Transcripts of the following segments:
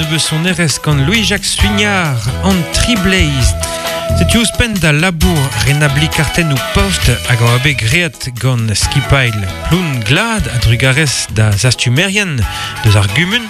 nebeut sonerezh gant Louis-Jacques Suignard an tri bleiz. Setu ouzhpenn da labour renabliñ kartennoù post hag a oa bet graet gant skipailh Ploun Glad a-drugarez da zastumerien deus ar gumun.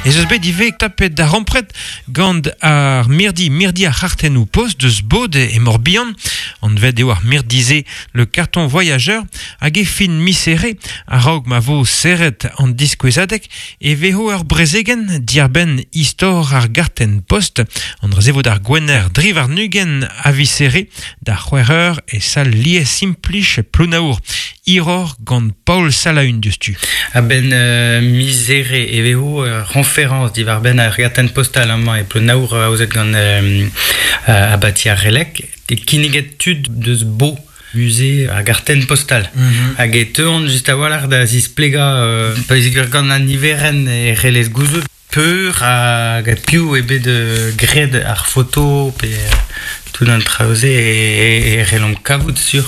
Ez eus bet ivez tapet da rampred gant ar mirdi mirdi ar c'hartennoù post deus Bod e Morbihan. Anvet eo ar mirdi-se le carton voyageur hag e fin miz Here, a-raok ma vo serret an diskouezadeg, e vezo ur brezegenn diàr-benn istor ar gartenn post. An dra-se vo d'ar Gwener dri warn-ugent a viz Here, da c'hwec'h eur e sal lies-implij Plounaour. Hiroc'h gant Paol Salaun diouzhtu. A-benn miz Here e vezo ur c'hoñferañs diwar-benn ar gartenn postal amañ e Plounaour aozet gant abati ar Releg. Kinniget tud deus Bo musée ar gartenn postal. Hag e teuont just a-walc'h da zisplegañ pa vez gant an niverenn e c'hellez gouzout peur hag piv eo bet graet ar foto pe tout an traoù-se e c'hellomp kavout sur.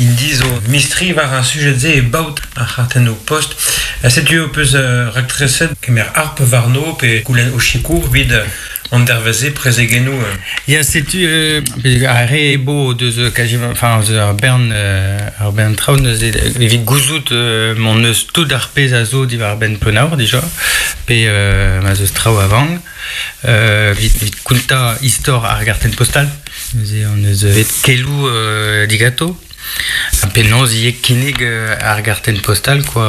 Int zo mistri war ar sujed-se e baot ar c'hartennoù post. Setu ho peus raktreset kemer harp warno pe goulenn o sikour evit an dervezh-se prezegennoù. Ya, setu ar re ebo deus quasiment, enfin, eus ar bern, ar bern traoù neuze evit gouzout m'hon eus tout ar pezh a zo diwar-benn Plonaour dija, pe ma 'z eus traoù a vank, evit kontañ istor ar gartenn postal. Neuze hon eus bet keloù digato. Ha penaos ivez kinnig ar gartenn postal quoi,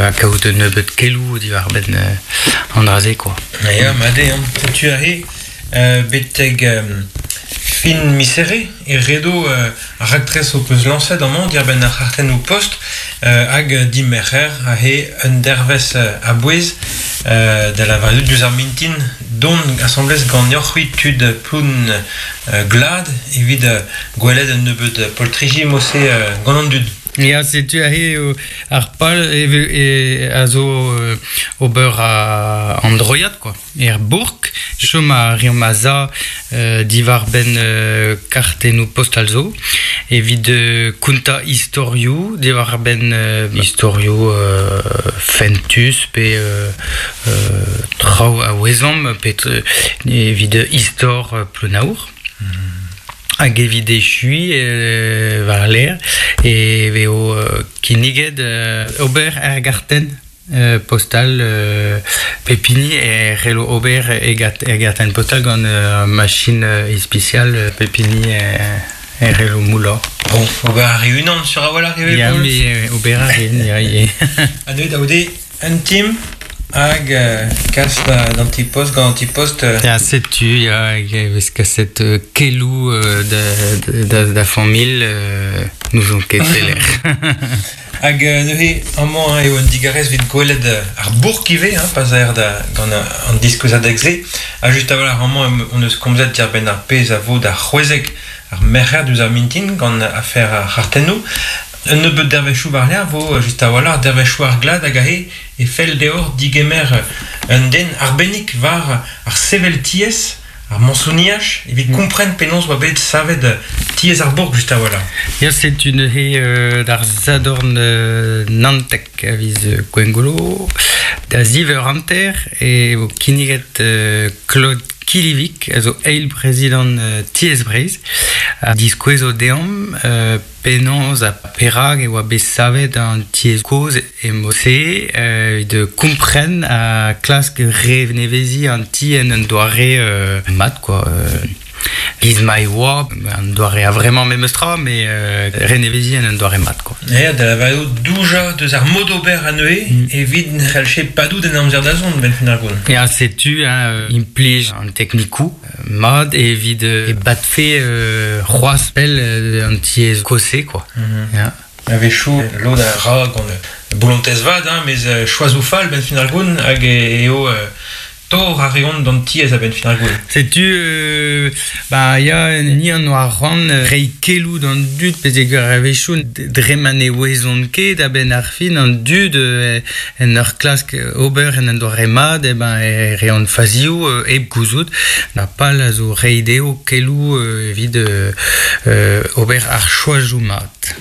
ha kaout un nebeud keloù diwar-benn an dra-se quoi. Ya, mat eo. Setu aze betek fin miz Here e redo ar raktres ho peus lañset amañ diàr-benn ar c'hartennoù post hag dimerc'her aze un dervezh a-bouez da lavaret diouzh ar mintin dont asambles ganeoc'h-c'hwi tud Ploun Glad evit gwelet un nebeud poltriji mod-se gant an dud. Ya, setu aze eo ar pal a zo ober an droiad quoi. Er bourk, chom a reomp a-za diwar-benn kartennoù postal zo evit kontañ istorioù diwar-benn istorioù fentus pe Traoù a ouezomp pet evit istor Plounaour. Hag evit echuiñ war-lerc'h e vezo kinniget ober er gartenn postal pep hini e c'hello ober e gartenn postal gant ur machin ispisial pep hini e c'hello moullañ. Bon, ober a ri unan sur a-walc'h ivez, Ya, mais ober a rin, ya, ya. Ha neuze da goude Un team hag kas d'an ti-post gant an ti-post. Ya, setu, ya, e vez kaset keloù da, da, da familh, n'ouzon ket pelec'h. Hag neuze, amañ eo un digarez evit gwelet ar bourk ivez, hein, pa 'z aer da, gant an diskouezadeg-se. Ha just a-walc'h amañ hon eus komzet diàr-benn ar pezh a vo da c'hwezek ar merc'her diouzh ar mintin gant afer ar c'hartennoù. Un nebeud dervezhioù war-lerc'h 'vo just a-walc'h dervezhioù ar glad hag aze e fell deoc'h digemer un den arbennik war ar sevel tiez, ar mañsoniaj, evit kompren penaos 'oa bet savet tiez ar bourk just a-walc'h. Ya, setu neuze d'ar Sadorn Nantek a viz Gwengolo. Da ziv eur hanter e vo kinniget Claude Quillivic, a zo eil prezidant Tiez Breizh, a diskouezo deomp Penaos ha perak e oa bet savet an tiez kozh e mod-se evit kompren ha klask reneveziñ an ti en un doare mat quoi. Giz ma e oa, un doare a-vremañ memes tra, met reneveziñ en un doare mat quoi. Ya, da lavarout doujañ deus ar mod ober anezhe evit ne c'hallche padout en amzer da zont, 'benn fin ar gont. Ya, setu hein, implij an teknikoù Mat evit e badfe c'hoazh pell an tiez kozh-se quoi. Ya. A-wechoù lod a ra gant bolontez vat, hein, mes choazoù fall 'benn fin ar gont hag eo tor a reont d'an tiez a-benn fin ar gont. Setu ba ya ni an oa c'hoant reiñ keloù d'an dud peogwir a-wechoù dre ma ne ouezont ket a-benn ar fin an dud en ur klask ober en un doare mat eh ben e reont fazioù hep gouzout. Na pal a zo reiñ dezho keloù evit ober ar choazoù mat.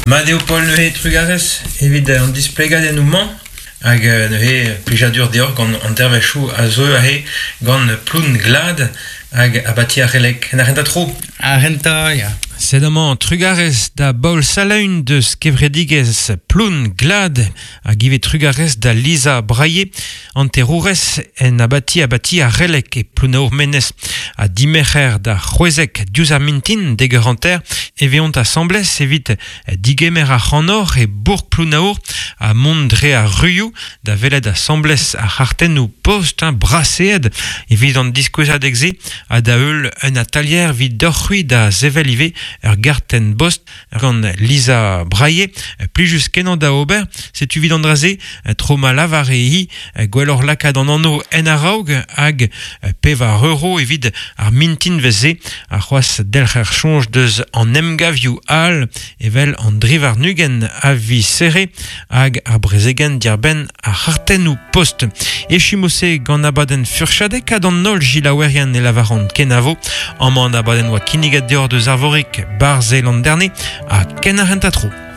Mat eo Paul neuze trugarez evit an displegadennoù-mañ. Hag neuze plijadur deoc'h gant an dervezhioù a zeu aze gant Ploun Glad hag abati ar Releg. En ar renta tro? Ar renta, ya. Sed amañ trugarez da Baol Salaun deus kevredigezh Ploun Glad hag ivez trugarez da Lisa Braillet, hanterourez en abati abati ar Releg e Plouneour-Menez. Ha dimerc'her da c'hwezek diouzh ar mintin dek eur hanter e veont asambles evit digemer ac'hanoc'h e bourk Plounaour ha mont dre ar ruioù da welet asambles ar c'hartennoù post hein, braseet evit an diskouezadeg-se ha da heul un atalier evit deoc'h-c'hwi da sevel ivez ur gartenn bost gant Lisa Braillet. Plijus kenañ da ober, setu evit an dra-se tro ma lavare-hi gwelloc'h lakaat an anv en a-raok hag pevar euro evit ar mintinvezh-se ha c'hoazh delc'her soñj deus an emgavioù all evel an drivarnugent a viz Serre hag ar brezegenn diarbenn ar c'hartennoù post. Echu-se gant abadenn furchadek ha d'an holl gilaouerien e lavaran kenavo. Amañ an abadenn oa kinniget deoc'h deus Arvorig Barzh Landerne ha ken ar tro.